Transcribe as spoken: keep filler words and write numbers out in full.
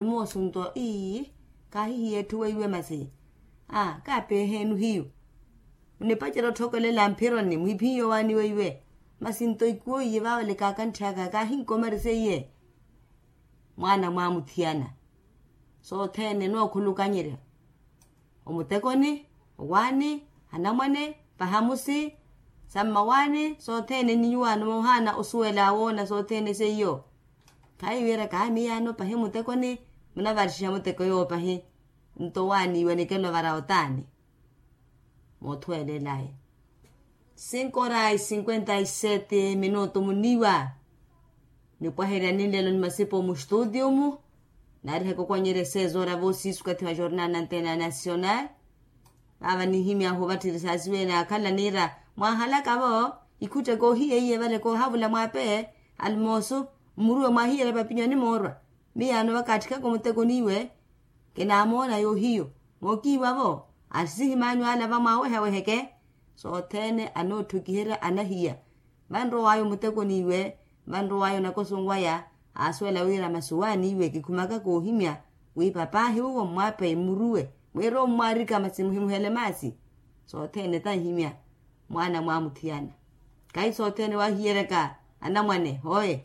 Moosunto ii, kaahihiya etthu weiwe masi. Aa kaapeeheenu hiyu. Munipacerya otthokolela mphironi muhiphihiye owaani weiwe. Masi nto ikuwo iye vaawelekaaka ntthaka kaahinkomariseiye. Mwaana mwaamuthiyana. Sothene nookhulukanyerya, omutekoni, owaani, anamwane, pahamusi, sa mmawaani sothene ni nyuwaano moohaana osuwela woona sothene seiyo. Khayi wiiraka aa miyaano pahi mutekoni, munavarixiha muteko yoowo pahi. Nto owaani iwe nikelo vara otaani. Moothuwelelaye. Cinco horas cinquenta y sete minuto muniiwa. Nipwaherya ninlelo ni masipo mu studio mu. Naarihaka okwanyerya seis horas voosiisi okathi wa jornal na antena nacional. Vaava ninhimyahu ovatthiri saasiwene akhala niira, mwaahalaka vo ikhuttheke ohiya iye vale koohavula mwaape. Almoosu mmuruwe mwaahiyerya papinyo animoorwa. Miyaano vakatthikaka omutekoniiwe. Kinaamoona yoohiyo. Mookiiwa vo, asihimaanyu ala vamwaaweheweheke. Sothene anoothukiherya anahiya. Vanrow'aya omutekoniiwe, vanrow'aya onakoso waya. Aasuwela wira masi owaaniiwe kikhumaka koohimya wi papaahi wuwo mmwaapeye mmuruwe, mwiire ommwaarika masi muhimuhele maasi. Sothene tanhimya. Mwaana mwaamuthiyana. Kahi sothene waahiyeryaka anamwane hooye.